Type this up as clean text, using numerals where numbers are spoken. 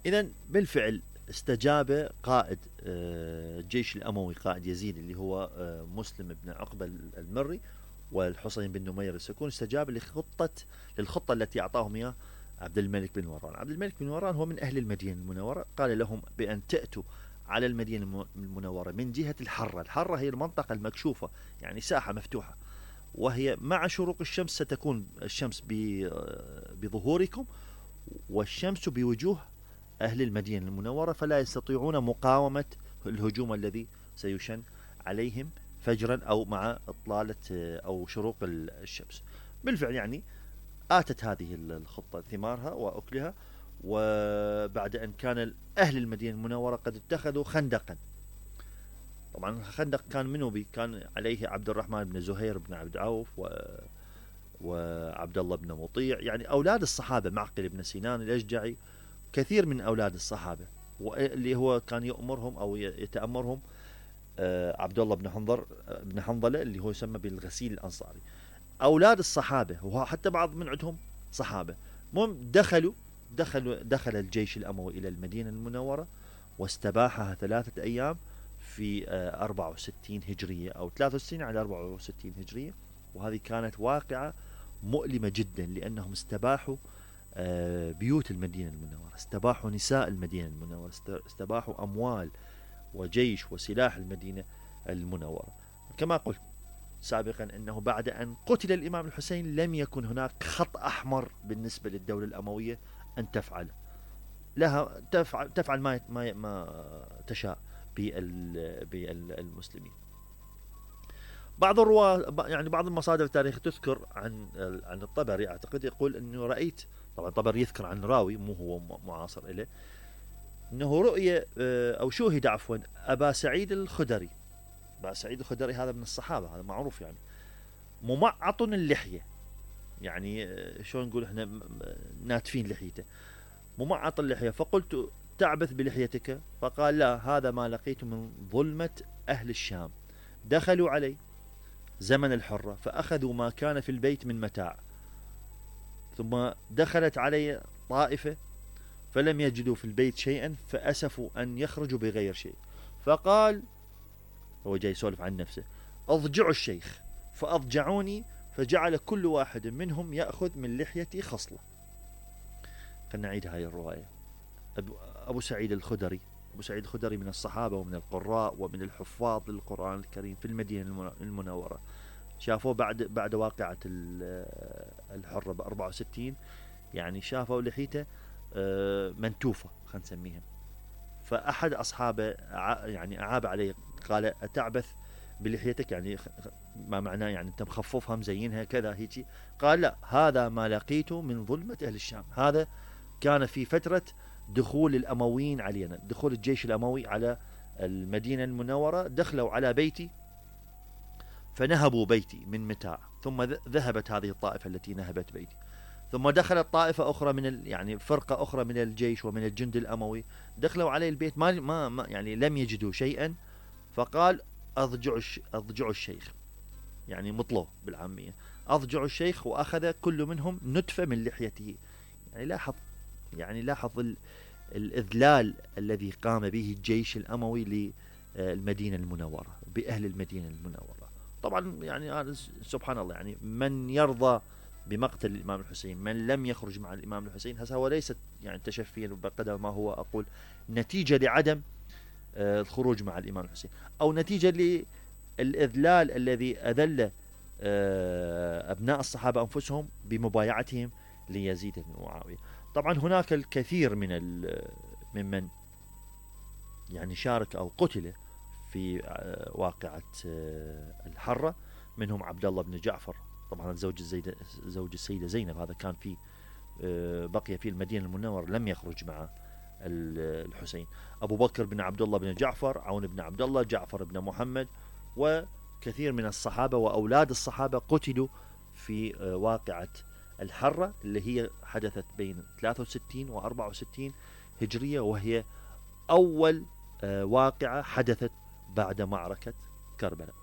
إذا بالفعل استجاب قائد الجيش الأموي، قائد يزيد اللي هو مسلم بن عقبة المري والحسين بن نمير السكون، استجاب للخطة التي أعطاهم إياه عبد الملك بن مروان. عبد الملك بن مروان هو من أهل المدينة المنورة، قال لهم بأن تأتوا على المدينة المنورة من جهة الحرة. الحرة هي المنطقة المكشوفة، يعني ساحة مفتوحة، وهي مع شروق الشمس ستكون الشمس بظهوركم والشمس بوجوه أهل المدينة المنورة، فلا يستطيعون مقاومة الهجوم الذي سيشن عليهم فجرا أو مع إطلالة أو شروق الشمس. بالفعل يعني آتت هذه الخطة ثمارها وأكلها، وبعد أن كان أهل المدينة المنورة قد اتخذوا خندقا. طبعا خندق كان منه كان عليه عبد الرحمن بن زهير بن عبد عوف وعبد الله بن مطيع، يعني أولاد الصحابة، معقل بن سنان الأشجعي، كثير من أولاد الصحابة، واللي هو كان يأمرهم أو يتأمرهم عبد الله بن حنظلة اللي هو يسمى بالغسيل الأنصاري. أولاد الصحابة وحتى بعض من عندهم صحابة، المهم دخل الجيش الأموي إلى المدينة المنورة واستباحها 3 أيام في 64 هجرية أو 63 على 64 هجرية. وهذه كانت واقعة مؤلمة جدا، لأنهم استباحوا بيوت المدينة المنورة، استباحوا نساء المدينة المنورة، استباحوا أموال وجيش وسلاح المدينة المنورة. كما قلت سابقا أنه بعد أن قتل الإمام الحسين لم يكن هناك خط أحمر بالنسبة للدولة الأموية أن تفعل لها، تفعل ما تشاء بالمسلمين. بعض الرواة يعني بعض المصادر التاريخية تذكر عن الطبري، أعتقد يقول أنه رأيت، طبعا الطبري يذكر عن راوي مو هو معاصر إليه، أنه رؤية أو شوهد عفوا أبا سعيد الخدري. أبا سعيد الخدري هذا من الصحابة، هذا معروف يعني، ممعط اللحية، يعني شلون نقول احنا ناتفين لحيته، ممعط اللحية. فقلت تعبث بلحيتك؟ فقال لا، هذا ما لقيت من ظلمة أهل الشام، دخلوا علي زمن الحرة فأخذوا ما كان في البيت من متاع، ثم دخلت علي طائفة فلم يجدوا في البيت شيئا فأسفوا أن يخرجوا بغير شيء. فقال، هو جاي يسولف عن نفسه، أضجعوا الشيخ فأضجعوني، فجعل كل واحد منهم يأخذ من لحيتي خصلة. خلنا نعيد هاي الرواية. أبو سعيد الخدري، أبو سعيد الخدري من الصحابة ومن القراء ومن الحفاظ للقرآن الكريم في المدينة المنورة. شافوه بعد واقعة الحرة ب64، يعني شافوا لحيته منتوفة خلينا نسميها. فأحد أصحابه يعني أعاب عليه، قال أتعبث بلحيتك؟ يعني ما معناه يعني أنت مخففها مزينها كذا هيجي. قال لا، هذا ما لقيته من ظلمة أهل الشام. هذا كان في فترة دخول الأمويين علينا، دخول الجيش الأموي على المدينة المنورة، دخلوا على بيتي فنهبوا بيتي من متاع، ثم ذهبت هذه الطائفة التي نهبت بيتي، ثم دخلت طائفة أخرى من يعني فرقة أخرى من الجيش ومن الجند الأموي، دخلوا علي البيت ما يعني لم يجدوا شيئا. فقال أضجعوا الشيخ، يعني مطلوه بالعامية، أضجعوا الشيخ، وأخذ كل منهم نتفة من لحيته. يعني لاحظ الإذلال الذي قام به الجيش الأموي للمدينة المنورة، بأهل المدينة المنورة. طبعا يعني سبحان الله، يعني من يرضى بمقتل الإمام الحسين، من لم يخرج مع الإمام الحسين، هذا هو ليست يعني تشفيا بقدر ما هو أقول نتيجة لعدم الخروج مع الإمام الحسين، أو نتيجة للإذلال الذي أذل أبناء الصحابة أنفسهم بمبايعتهم ليزيد بن معاوية. طبعا هناك الكثير ممن يعني شارك أو قتل في واقعة الحرة، منهم عبد الله بن جعفر، طبعا زوج السيدة زينب، هذا كان في بقي في المدينة المنورة لم يخرج مع الحسين. أبو بكر بن عبد الله بن جعفر، عون بن عبد الله، جعفر بن محمد، وكثير من الصحابة وأولاد الصحابة قتلوا في واقعة الحرة اللي هي حدثت بين 63 و 64 هجرية، وهي أول واقعة حدثت بعد معركة كربلاء.